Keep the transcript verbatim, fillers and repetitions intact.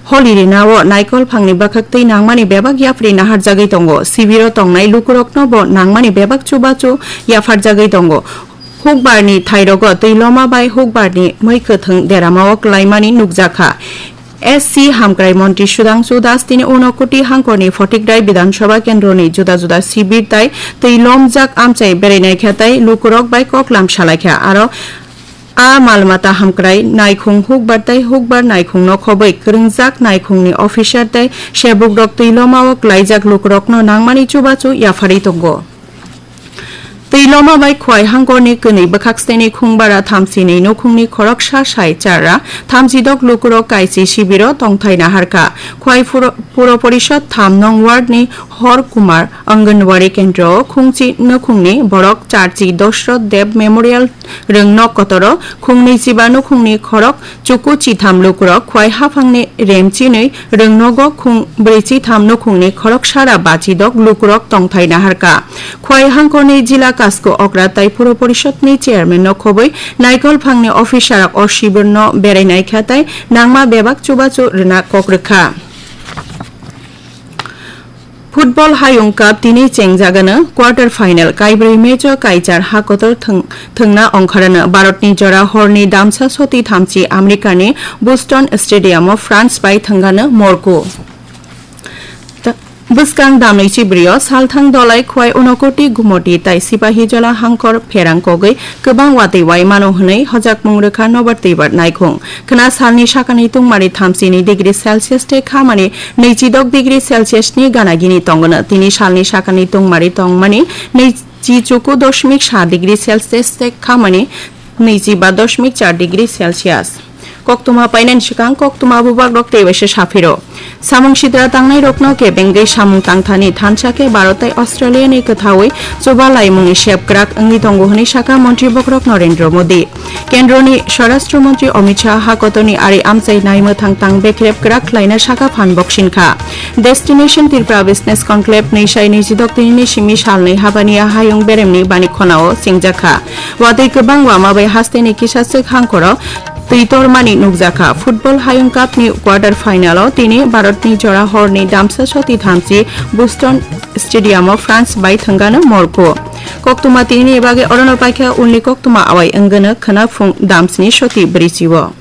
Holi rinao naikol phangni bwkhak twi nangmani bebak yapri naharjagwi tongo. Sibiro tongnai lukurokno bo nangmani bebak chubachu yapharjagwi tongo. Hukbarni thairogo twi loma bai hukbarni mwi kwthwng deramao klaimani nukjakha. S C hamkrai montri Sudhangshu Das tini Unakoti hangkorni Photikrai Bidhan Sabha kendroni juda juda sibir tai twi lomjak amchai berainaikha tai lukurok bai koklam salaikha. Aro a malmata hamkrai naikhung hukbar tai hukbar naikhungno khobwi kwrwngjak naikhungni officer tai sebukrok twi lomao klaijak lukurokno nangmani chubachu yapharwi tongo. Twi loma bai Khwai hangkorni kwnwi bwkhak steni khungbara thamsinwi nukhungni khoroksa sai charra thamsidok lukurok kaisi sibiro tongthai naharkha. Khwai Puro, Puro Porishod tham nong wardni Hor Kumar, Anganwadi kendro, khungchi nukhungni borok charchi Dosrot Deb Memorial rwngnok kotoro, khungnwi chiba nukhungni khorok chuku chitham lukurok Khwai haphangni remchinwi rwngnogo khung brwi chitham nukhungni khorok sara bachidok lukurok tongthai naharkha. Khwai hangkorni jila Kasko Okra tai Puro Porishod ni chairman no khobwi naikol phangni officer rok o sibir no berai naikha tai nangma bebak chubachu rwna kok rwkha. Football Hayung Cup tini chengjagano quarter final kaibrwi match o kaichar hakotor thwng-, thwngna ongkharano Bharatni jora horni damsa soti thamchi Americani Boston Stadium o France bai thwngano Morocco. Ta-, bwskang damni chibrio salthang dolai Khwai Unakoti Gumoti tai Sipahijola hangkor pherang kogwi kwbang watwi wai mano hwnwi hojakmung rwkha nobar twibar naikhung. Khwna salni sakani tungmari thamsini degree Celsius tei khamani nwichidok degree Celsius ni gana gini tongwno. Tini salni sakani tungmari tongmani nwichichuku dosmik sa degree Celsius tei khamani nwichiba dosmik char degree Celsius. Koktwma painani swkang koktwma bubagrok tei waisa saphiro. Samung sidra tangnairokno kebengwi samung tangthani thansa khe Bharat tei Australia ni kwthaui chuba laimungni sep kwrak wngwi tongo hwnwi sakha Montri Bokhorok Narendra Modi. Kendroni Swarashtra Montri Amit Shah hakotorni ari amchai naimwthang tang bekrep kwrak khlaina sakha phan boksinkha. Destination Tripura Business Conclave nwi sai nwi chidok tinini simi salnwi habaniya hayung beremni bani khonao chengjakha. Watwi kwbang wama bai hasteni kisa swk hangkoro twi tormani nukjakha. Football Hayung Cup ni quarter final o tini Bharat ni jora horni damsa soti thamchi Boston Stadium o France bai thwngano Morocco. Koktwma tinini bagwi orono paikha, ulni koktwma awai wngano khwna phung damsni soti bwrwichio.